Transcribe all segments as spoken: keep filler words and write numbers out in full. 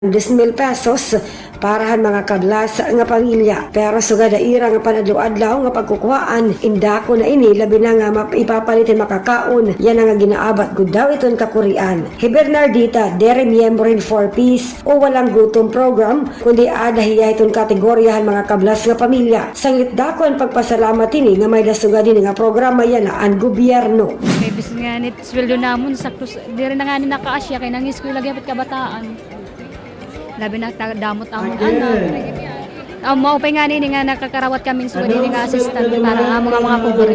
Dos mil pesos para han mga kablas nga pamilya. Pero sugad ha ira nga panadlaw-adlaw nga pagkukuhaan, in dako na ini, labi na nga map-, ipapalit hin makakaon, yana nga ginaabat gud daw iton kakurian. Hi Bernardita, diri miyembro hin Four Ps o Walang Gutom Program, kundi ada hiya hiton kategorya han mga kablas nga pamilya. Sanglit dako an pagpasalamat hini nga may-ada sugad hini nga programa yana an gobyerno. Kay bisan ngani sweldo namon, sakto s-, diri na ngani nakaasya kay nangiskwela gihap it kabataan. Labi na ta-, damo it amon anak. Ah, maupay ngani ini nga nakakarawat kami hin sugad hini nga assistance para ha mga, mga pobre.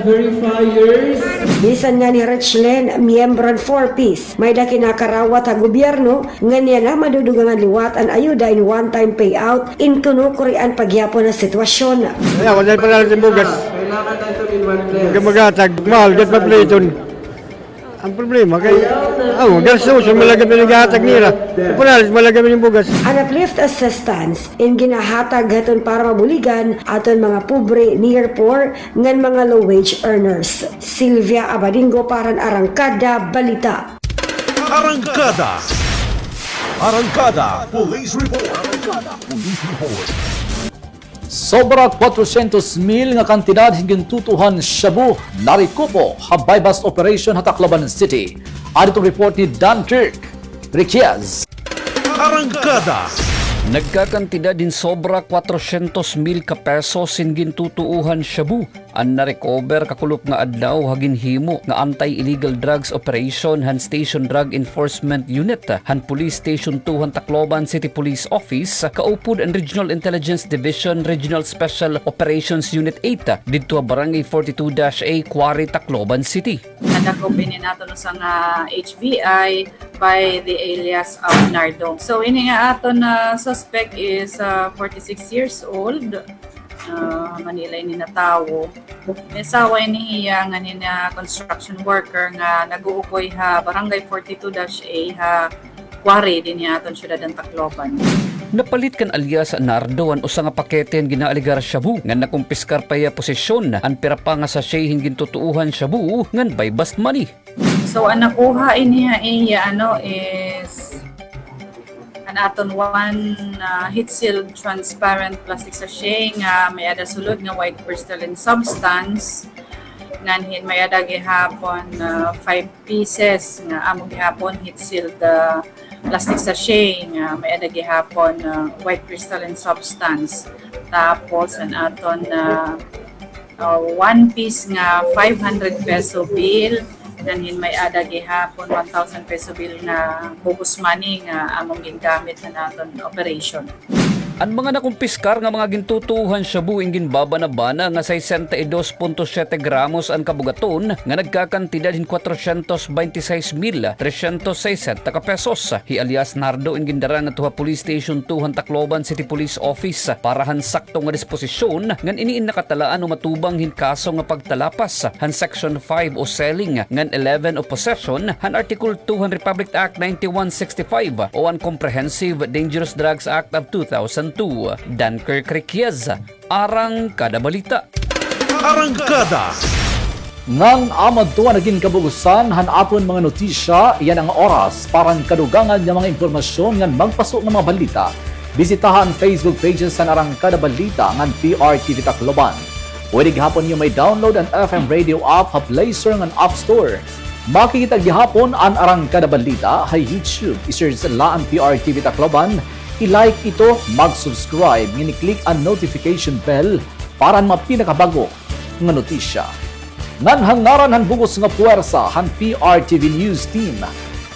Bisan ngani Richlyn, miyembro han Four Ps, may-ada kinakarawat ha gobyerno, ngan yana madudugangan liwat an ayuda in one-time payout, in kinukurian pa gihapon an sitwasyon. Kaya, wala pa na rin bugas. Maghatag, mahal, gat pa pliton. An problema kay, aw, gastuson man la gihap it ginhatag nira. Pinalit man la gihap it bugas. An uplift assistance in ginahatag hiton para mabuligan aton mga pobre, near poor, ngan mga low wage earners. Sylvia Abadingo para han Arangkada Balita. Arangkada. Arangkada Police Report. Arangkada Police Report. Sobra kwatrosyentos mil nga kantidad hin gintutuohan shabu narekupo ha buy-bust operation ha Tacloban City. Adto an report ni Dunkirk Riquez. Arangkada. Nagkakantidad hin sobra kwatrosyentos mil ka pesos hin gintutuohan shabu an narecover kakulop nga adlaw ha ginhimo nga anti-illegal drugs operation han Station Drug Enforcement Unit han Police Station two han Tacloban City Police Office, kaupod an Regional Intelligence Division Regional Special Operations Unit eight, didto ha Barangay forty-two dash A, Quarry, Tacloban City. Nadakop ini naton usa nga H B I by the alias of Nardo. So, ini nga aton, ah, suspect is, ah, forty-six years old. Ah, Manila ini natawo. May asawa ini hiya nga nina construction worker nga nag-uukoy ha Barangay forty-two dash A ha Quarry dinhi ha aton syudad han Tacloban. Napalit kan alias Nardo an usa nga pakete han ginaalegar shabu ngan nakumpiskar pa hiya posesyon an pira pa nga sachet hin gintutuohan shabu ngan buy-bust money. So, an nakuha ini ha iya, ano, is an aton one, ah, heat-sealed transparent plastic sachet nga may-ada sulod nga white crystalline substance. Ngan hin may-ada gihapon, ah, five pieces nga amo gihapon heat-sealed, ah, plastic sachet nga may-ada gihapon, ah, white crystalline substance. Tapos, an aton, ah, ah, one piece nga five hundred peso bill, ngan hin may-ada gihapon one thousand peso bill nga bogus money nga amon gingamit han aton operation. An mga nakumpiskar nga mga gintutuohan shabu in ginbabanabana nga sesenta y dos punto siyete gramos an kabugaton nga nagkakantidad hin kwatrosyentos bente y seis mil tresyentos sesenta ka pesos. Hi alias Nardo in gindara ngadto ha Police Station two han Tacloban City Police Office para han sakto nga disposisyon, ngan ini in nakatalaan o matubang hin kaso nga pagtalapas han Section five o selling, ngan eleven o possession han Article two han Republic Act ninety-one sixty-five o an Comprehensive Dangerous Drugs Act of two thousand two. Dunkirk Riquez, Arangkada Balita. Arangkada. Ngan amo adto an nagin kabugusan han aton mga notisya yana nga oras. Para han kadugangan nga mga impormasyon ngan magpaso nga mga balita, bisitaha an Facebook pages han Arangkada Balita ngan P R T V Tacloban. Pwede gihapon niyo ma-download an F M Radio app ha Play Store ngan App Store. Makikita gihapon an Arangkada Balita ha YouTube. I-search la an P R T V Tacloban, i-like ito, mag-subscribe, ngan i-click an notification bell para han mga pinakabag-o nga notisya. Ngan ha ngaran han bug-os nga puwersa han P R T V News Team,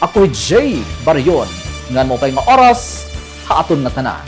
ako hi Jay Barion, ngan maupay nga oras ha aton ngatanan.